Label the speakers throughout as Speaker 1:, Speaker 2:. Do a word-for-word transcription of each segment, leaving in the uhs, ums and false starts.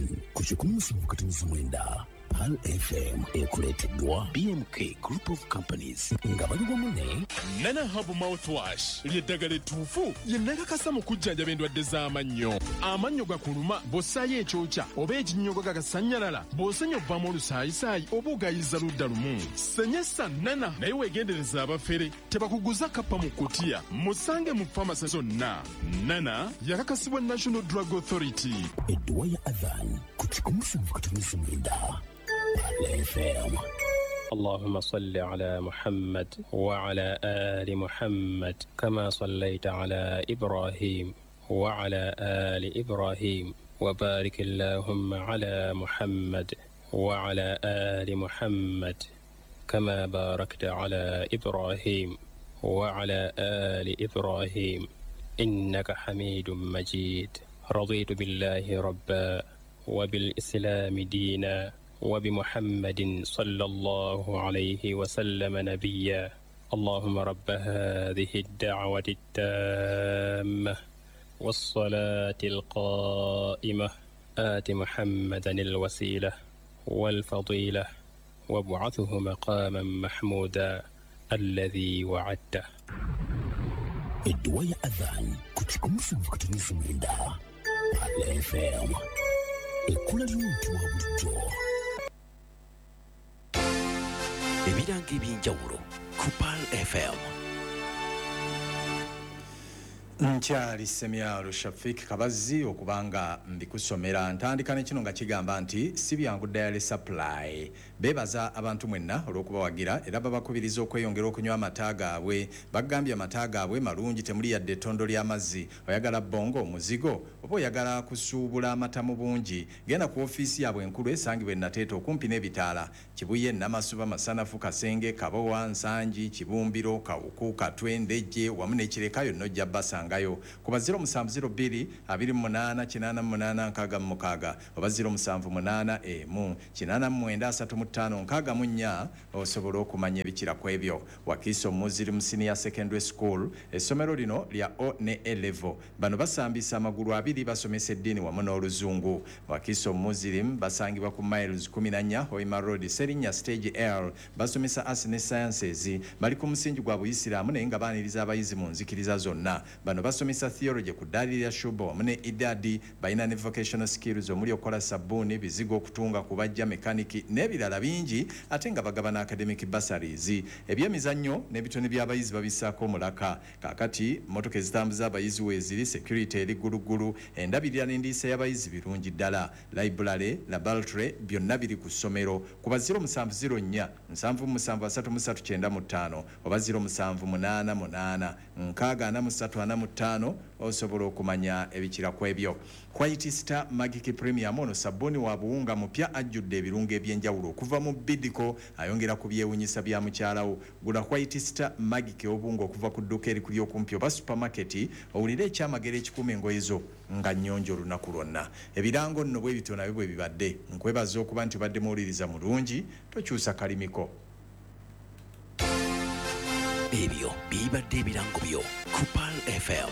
Speaker 1: Adhan ku kikumi musanvu katonnyeze mwenda Pearl F M ekuleeteddwa B M K Group of Companies nga bali wamu ne
Speaker 2: Nana Herb Mouthwash ly'eddagala ettuufu lye nakakasa mu kujjanjaba endwadde z'amannyo. Amannyo gakuluma bw'ossaayo ekyokya oba ekinnyogo gagasannyalala, bw'osenya ovaamu olusaayisaayi oba ogayiza ludda lumu. Senyesa Nana, naye weegendereza abafere tebakuguza kappa mu kutiya. Musange mu famasi zonna. Nana yakakasibwa National Drug Authority.
Speaker 1: Edduwa ya Adhan ku kikumi musanvu katonnyeze mwenda Pearl F M.
Speaker 3: اللهم صل على محمد وعلى آل محمد كما صليت على إبراهيم وعلى آل إبراهيم، وبارك اللهم على محمد وعلى آل محمد كما باركت على إبراهيم وعلى آل إبراهيم، إنك حميد مجيد. رضيت بالله ربا، وبالإسلام دينا، وبمحمد صلى الله عليه وسلم نبيا. اللهم رب هذه الدعوة التامة والصلاة القائمة، آت محمدا الوسيلة والفضيلة، وابعثه مقاما محمودا الذي وعدته.
Speaker 1: Edduwa ya Adhan ku kikumi musanvu katonnyeze mwenda Pearl F M, ekkula ly'omuntu wa bulijjo.
Speaker 4: Ebirango ebyenjawulo ku Pearl F M.
Speaker 5: Nkyali Semyalo Shafik Kabazi okubanga mbikusomera. Ntandika ne kino nga kigamba nti si byangu Dairy Supply beebaza abantu mwenna olw'okubawagira era babakubiriza okweyongera okunywa amata gaabwe. Bagambye amata gaabwe malungi, temuli yadde ettondo ly'amazzi. Oyagala bongo, omuzigo oba oyagala kusuubula amata mu bungi, genda ku ofiisi yaabwe enkulu esangibwa enateeta okumpi n'ebitaala, Kibuye, Namasuba, Masanafu, Kasenge, Kabowa, Nsangi, Kibumbiro, Kawuku, Katwe, Ndejje wamu n'Ekireka. Yonna ojja basangayo kuba zero musanvu zero bbiri abiri mu munaana kinaana mu munaana nkaaga mu mukaaga oba zero musanvu munaana emu kinaana mu mwenda asatu mu ttaano nkaaga mu nnya osobola okumanya ebikira ku ebyo. Wakiso Muslim Senior Secondary School, essomero lino lya O ne A level. Bano basambisa amagulu abiri, basomesa eddiini wamu n'Oluzungu. Wakiso Muslim basangibwa ku Miles kumi na nnya Hoima Road, Serinnya Stage L. Basomesa Arts ne Sciences. Bali ku musingi gwa Buyisiraamu naye nga baaniriza abayizi mu nzikiriza zonna. Bano basomesa theology ku ddaali lya shuba wamu ne idadi. Balina ne vocational skills omuli okukola sabbuuni, bizigo, okutunga, kubajja, mekaniki n'ebirala bingi, ate nga bagabana academic bursaries. Ebyemizannyo n'ebitone by'abayizi babissaako omulaka. Kaakati motoka ezitambuza abayizi weeziri, security eri gguluggulu, endabirira n'endiisa y'abayizi birungi ddala. Library, laboratory byonna biri ku ssomero. Kuba zero musanvu zero nnya nsanvu mu musanvu asatu mu ssatu kyenda mu ttaano oba zero musanvu munaana munaana nkaaga ana mu ssatu ana mu ttaano osobola okumanya ebikira ku ebyo. White Star Magic Premium, ono sabbuuni wa buwunga mupya ajjudde ebirungo ebyenjawulo okuva mu Bidiko, ayongera ku byewunyisa bya mukyalawo. Gula White Star Magic obuwunga okuva ku dduuka erikuli okumpi oba supermarket, owulire ekyamagero ekikuuma engoye zo nga nnyonjo olunaku lwonna. Ebirango nno bwe bityo nabyo bwe bibadde. Nkwebaza okuba nti obadde muwuliriza mulungi, tokyusa kalimiko.
Speaker 4: Ebyo bibadde ebirango byo ku Pearl F M.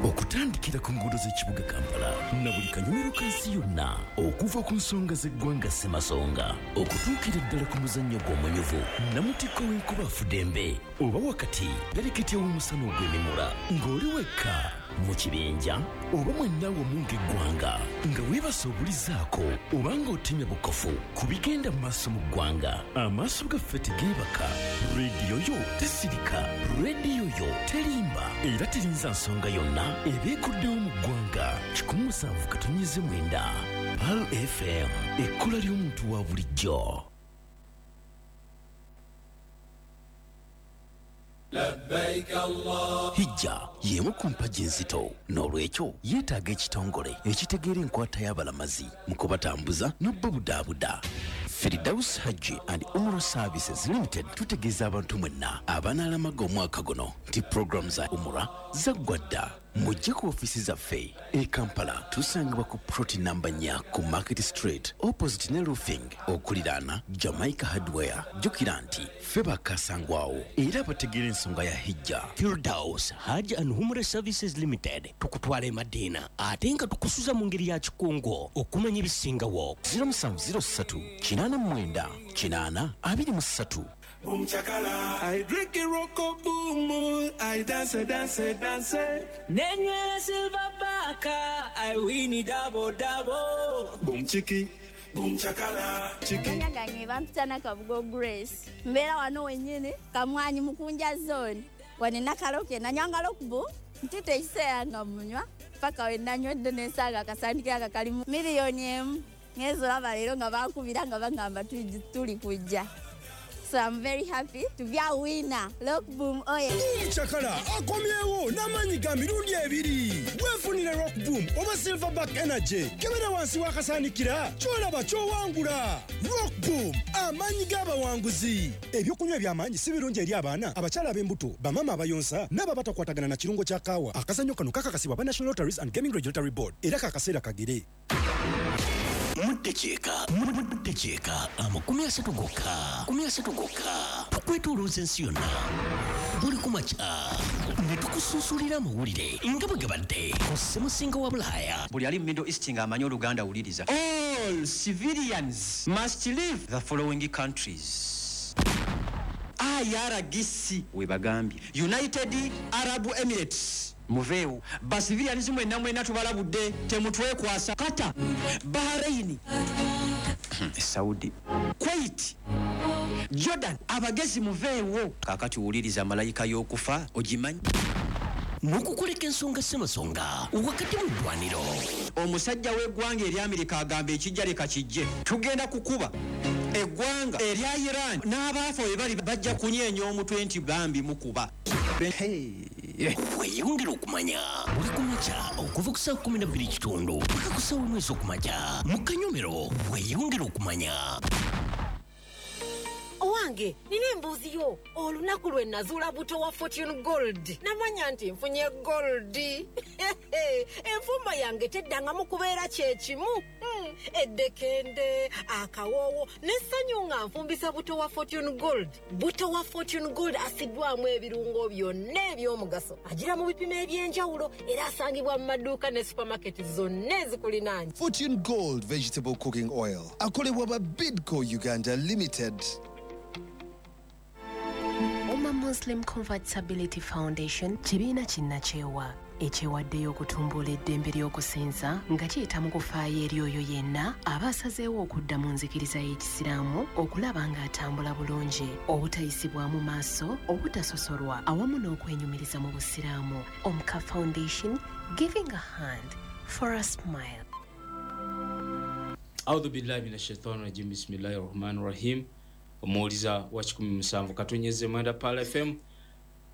Speaker 1: Okutandikira ku nguudo z'ekibuga Kampala na buli kanyumiro ka nsi yonna, okuva ku nsonga z'eggwanga ssemasonga okutuukira ddala ku muzannyo gw'omunyuvu namutikko w'enkuba afudembe oba wakati pereketya w'omusana ogw'emimula, ng'oli wekka mu kibinja oba mwenna wamu ng'eggwanga, nga weebasa obulizaako oba ng'otemya bukofu ku bigenda mu maaso mu ggwanga, amaaso gaffe tegeebaka, rediyo yo tesirika, rediyo yo terimba era terinza nsonga yonna eba ekuddewo mu ggwanga. Kikumi musanvu katonnyeze mwenda Pearl F M, ekkula ly'omuntu wa bulijjo. Hijja y'emu ku mpagi enzito, n'olwekyo yeetaaga ekitongole ekitegeera enkwata y'abalamazi mu kubatambuza n'obbabudaabuda. Firdaus Hajji and Umrah Services Limited tutegeeza abantu mwenna abanaalamaga omwaka guno nti puroguramu za umura zaggwa dda.
Speaker 4: Mujje ku ofiisi zaffe e Kampala, tusangibwa ku plot namba nnya ku Market Street, opposite ne Roofing, okuliraana Jamaica Hardware. Jjukira nti ffe bakasangwawo era bategeera ensonga ya hijja.
Speaker 1: Firdaus Hajj and Umrah Services Limited tukutwala e Madina ate nga tukusuza mu ngeri ya kikungo. Okumanya ebisingawo
Speaker 4: zero musanvu zero ssatu kinaana mu mwenda kinaana abiri mu ssatu.
Speaker 6: Boom chakala, I drink it roko boom, I dance dance dance.
Speaker 7: Nenywera silver baka, I win it double double.
Speaker 6: Boom chiki, boom chakala, chiki.
Speaker 8: Nyangange bampita Nakabugo Grace. Mbeera wano wennyini Kamwanyi Mukunja zone. Wane nakaloke nanywanga lokubu ntute ekiseera nga munywa paka we nanywedde n'ensaaga akasandikira aka kalimu miliyoni emu. Ngenze olaba leero nga bankubira nga bagamba tuli kujja. So I'm very happy to be a winner. Rock Boom oye.
Speaker 9: Boom Chakala akomyewo n'amaanyi ga mirundi ebiri. Weefunire Rock Boom oba Silverback Energy. Kebera wansi w'akasaanikira ky'olaba ky'owangula. Rock Boom, amaanyi g'abawanguzi. Ebyokunywa eby'amaanyi si birungi eri abaana, abakyala ab'embuto, bamaama abayonsa n'abo abatakwatagana na kirungo kya kaawa. Akazannyo kano kakakasibwa aba National Lotteries and Gaming Regulatory Board era kakaseera kagere.
Speaker 1: Muddekyeka, muddekyeka amakumi asatu gokka, makumi asatu gokka. Tukwetoolooza ensi yonna buli ku makya ne tukusunsulira amawulire nga bwe gabadde ku Ssemusinga wa Bulaaya.
Speaker 10: Buli ali mu Middle East ng'amanyi Oluganda wuliriza. All civilians must leave the following countries. I R G C we bagambye, United Arab Emirates muveewo, basivilians mwenna mwenna tubalabudde temutwekwasa. Qatar, Bahrain, Saudi, Kuwait, Jordan, abagezi muveewo. Kaakati wuliriza malayika y'okufa ogimanyi.
Speaker 1: N'okukuleka ensonga ssemasonga wakati mu ddwaniro.
Speaker 10: Omusajja w'eggwanga ery'Amerika agamba ekijja leka kijje, tugenda kukuba eggwanga erya Iran n'abaafa we bali bajja kunyeenya omutwe nti bambi mukuba.
Speaker 1: Weeyongere okumanya buli ku makya okuva ku ssaawa kkumi na bbiri kitundu paka ku ssaawa emu ez'okumakya mu kanyomero. Weeyongere okumanya.
Speaker 11: Owange, nina embuzi yo. Olunaku lwe nazuula buto wa Fortune Gold namanya nti nfunye gold. Enfumba yange teddangamu kubeera kyekimu. Mm, eddekende, akawoowo n'essanyu nga nfumbisa buto wa Fortune Gold. Buto wa Fortune Gold asiddwamu ebirungo byonna eby'omugaso, agira mu bipimo eby'enjawulo era asangibwa mu maduuka ne supermarket zonna ezikulinaanye.
Speaker 12: Fortune Gold Vegetable Cooking Oil akolebwa ba Bidco Uganda Limited.
Speaker 13: Umma Muslim Convertibility Foundation kibiina kinnakyewa ekyewaddeyo okutumbula eddembe ly'okusinza nga kiyita mu kufaayo eri oyo yenna aba asazeewo okudda mu nzikiriza y'Ekisiraamu okulaba ng'atambula bulungi, obutayisibwamu maaso, obutasosolwa awamu n'okwenyumiriza mu Busiraamu. Omka Foundation, giving a hand for a smile.
Speaker 14: Audhu billahi minash shaitani rajim. Bismillahir rahmanir rahim. Omuwuliza wa kikumi musanvu katonyeze mwenda Pala F M.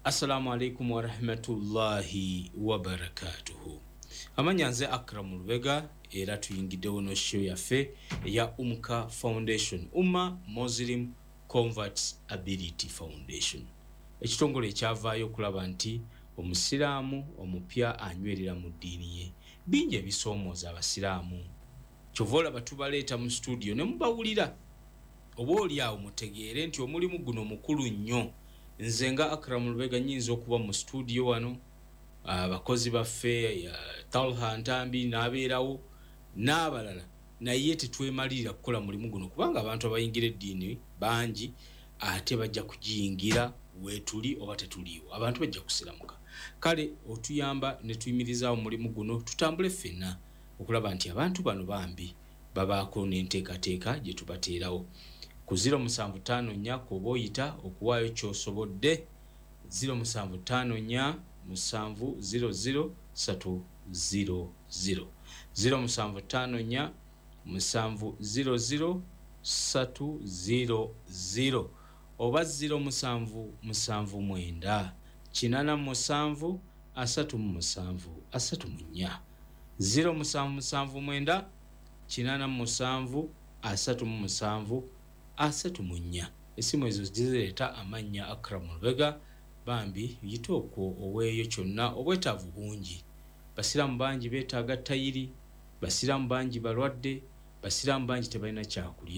Speaker 14: Assalamu alaikum wa rahmatullahi wa barakatuhu. Amanya nze Akram Lubega era tuyingiddewo no show yaffe eya Umka Foundation, Umma Muslim Converts Ability Foundation. Ekitongole ekyavaayo okulaba nti omusiraamu omupya anywerera mu ddiini ye. Bingi ebisoomooza abasiraamu. Kyova olaba tubaleeta mu studio ne mubawulira. Oba oli awo mutegeere nti omulimu guno mukulu nnyo. Nze nga Akram Lubega nnyinza okuba mu studio wano, abakozi baffe Talha Ntambi n'abeerawo n'abalala, naye tetwemalirira kukola mulimu guno kubanga abantu abayingira eddiini bangi ate bajja kugiyingira weetuli oba tetuliiwo, abantu bajja kusiramuka. Kale otuyamba ne tuyimirizaawo omulimu guno tutambule ffenna okulaba nti abantu bano bambi babaako n'enteekateeka gye tubateerawo. Ku ziro musanvu ttaano nnya kw'oba oyita okuwaayo ky'osobodde, ziro musanvu ttaano nnya musanvu ziro ziro ssatu ziro ziro, ziro musanvu ttaano nnya musanvu ziro ziro ssatu ziro ziro oba ziro musanvu musanvu mwenda kinaana musanvu asatu mu musanvu asatu mu nnya, ziro musanvu musanvu mwenda kinaana musanvu asatu mu musanvu asatu mu nnya. Essimu ezo zireeta amannya Akram Lubega. Bambi yita okwo oweeyo kyonna, obwetaavu bungi. Basiraamu bangi beetaaga tayiri, basiraamu bangi balwadde, basiraamu bangi tebalina kyakulya.